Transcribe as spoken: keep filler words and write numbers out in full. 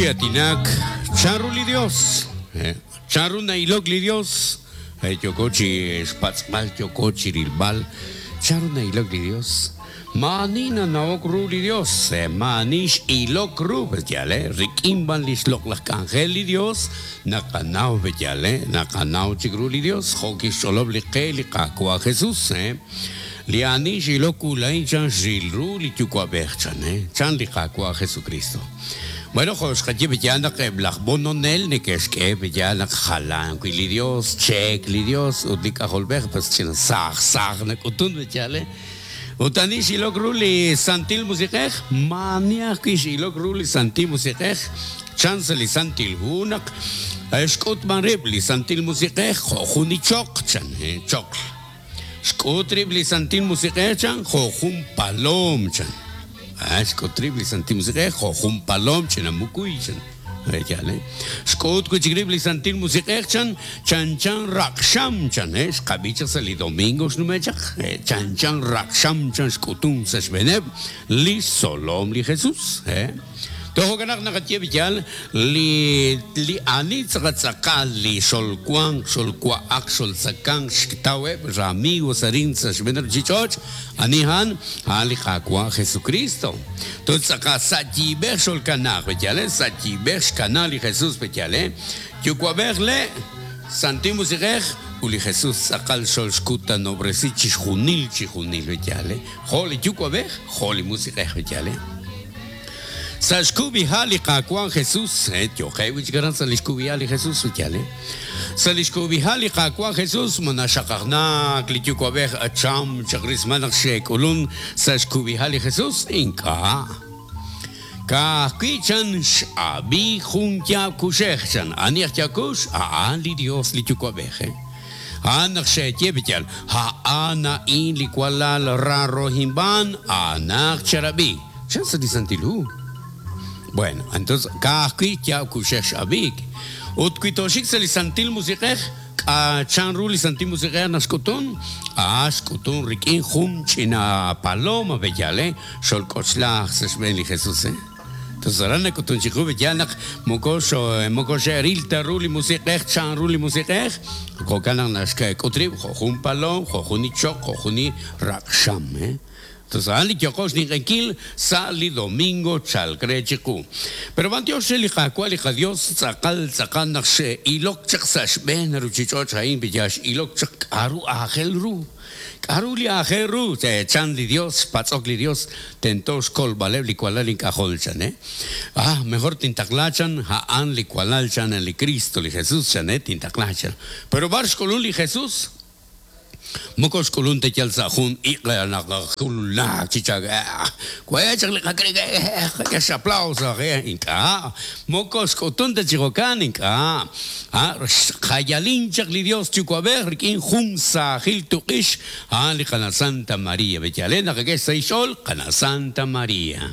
chi aatinak chanru li Dios, chanru na'ilok li Dios, yooko chi xpatz'b'al, yooko chi rilb'al, chanru na'ilok li Dios. Maani nanawok ru li Dios, maani x'ilok ru, b'yal, rik'in b'an li xloq'laj k'anjel li Dios, naqanaw b'yal, naqanaw chik ru li Dios, jo' kixch'olob' li qe li Qaawa' Jesus, li ani x'ilok ulain chan xril ru li yuwa'b'ej chan, chan li Qaawa' Jesucristo. Bueno, jo' xqaye b'yal naq eb' laj bononel neke'xk'e b'yal naq jalan wi li Dios, cheek li Dios, ut li k'ajolb'ej, pues china saaj saaj nak'utun b'yal, ut ani x'ilok ru li Santil Musiq'ej, maani ajwi' x'ilok ru li Santil Musiq'ej, chan sa' li Santil Hu naq xk'utb'an rib' li Santil Musiq'ej jo' jun li choq chan, choql. Xk'ut rib' li Santil Musiq'ej chan jo' jun palom chan. Xk'ut rib' li Santil Musiq'ej jo' jun palom china mukuy chan. Xk'ut wi' chik rib' li Santil Musiq'ej chan chan chan raqxam chan, xqab'i chaq sa' li domingo xnume' chaq, chan chan raqxam chan xk'utun sa' xb'eeneb' li xtzolom li Jesus. Tojo'kan naq naqaye b'yal li li ani tz'aqatz'aqal li xolwanq, xolwa'aq, xoltzakanq, xtaweb' ramigos arin sa' xb'een ruchich'och', ani han, a'an li Qaawa' Jesucristo. Toj tz'aqa sa' yiib'ej xolkanaj b'yal, sa' yiib'ej xkana li Jesus b'yal, yuwa'b'ej le Santil Musiq'ej ut li Jesus tz'aqal xolxkutanobresi chi xjunil chi junil b'yal, jo' li yuwa'b'ej, jo' li Musiq'ej b'yal. Sa' xkub'iha li Qaawa' Jesus, yo'qe wi' chik aran sa' li xkub'iha li Jesus b'yal. Sa' li xkub'iha li Qaawa' Jesus manaxaqajnak li yuwa'b'ej acham chaq rismal naq xe'k'ulun sa' xkub'iha li Jesus, ink'a'. Ka'ajwi' chan x'ab'i jun yaab' kuxej chan, ani aj yaab' kux, a'an li Dios li yuwa'b'ej. A'an naq xe'ye b'yal, a'an a'in li walal rarohinb'an, a'anaq charab'i. Chan sa' li Santil Hu. Bueno, entonces, ka'ajwi' yaab' kuxej x'ab'ik. Ut wi toxik sa' li Santil Musiq'ej, chan ru li Santil Musiq'ej naq xk'utun, ah, xk'utun rik'in jun ch'ina paloma b'yal, xolk'ochlaj sa' xb'een li Jesus, eh. Entonces, aran nak'utun chiqu b'yal naq moko moko xe'ril ta ru li Musiq'ej, chan ru li Musiq'ej, jo'kan naq naxk'ut rib' jo' jun palom, jo' jun ichoq, jo' jun raqxam, eh. Entonces, a'an li yo'qo xninq'enkil sa' li domingo chalk re chiqu. Pero b'antiox re li Qaawa' li qaDios tz'aqal tz'aqal naq xe'ilok chaq sa' xb'een ruchich'och' a'in b'yal x'ilok chaq k'aru aajel ru. K'aru li aajel ru, chan li Dios, xpatz'ok li Dios, tento xkolb'aleb' li walal ink'ajol chan, eh. Ah, mejor tintaqla chan, a'an li walal chan li Cristo, li Jesus chan, eh, tintaqla chan. Pero b'ar xk'ulun li Jesus? Moko xk'ulun te yal sa' jun iq' naq kululak chi chak, we chaq li qak'e, qak'e aplauso, ink'a'. Moko xk'utun te chi jo'kan, ink'a'. Ah, xjayalin chaq li Dios yuwa'b'ej rik'in jun saajil tuq'ix, a'an li qana Santa María, b'yal, naq qak'e sa' ix'ol, qana Santa María.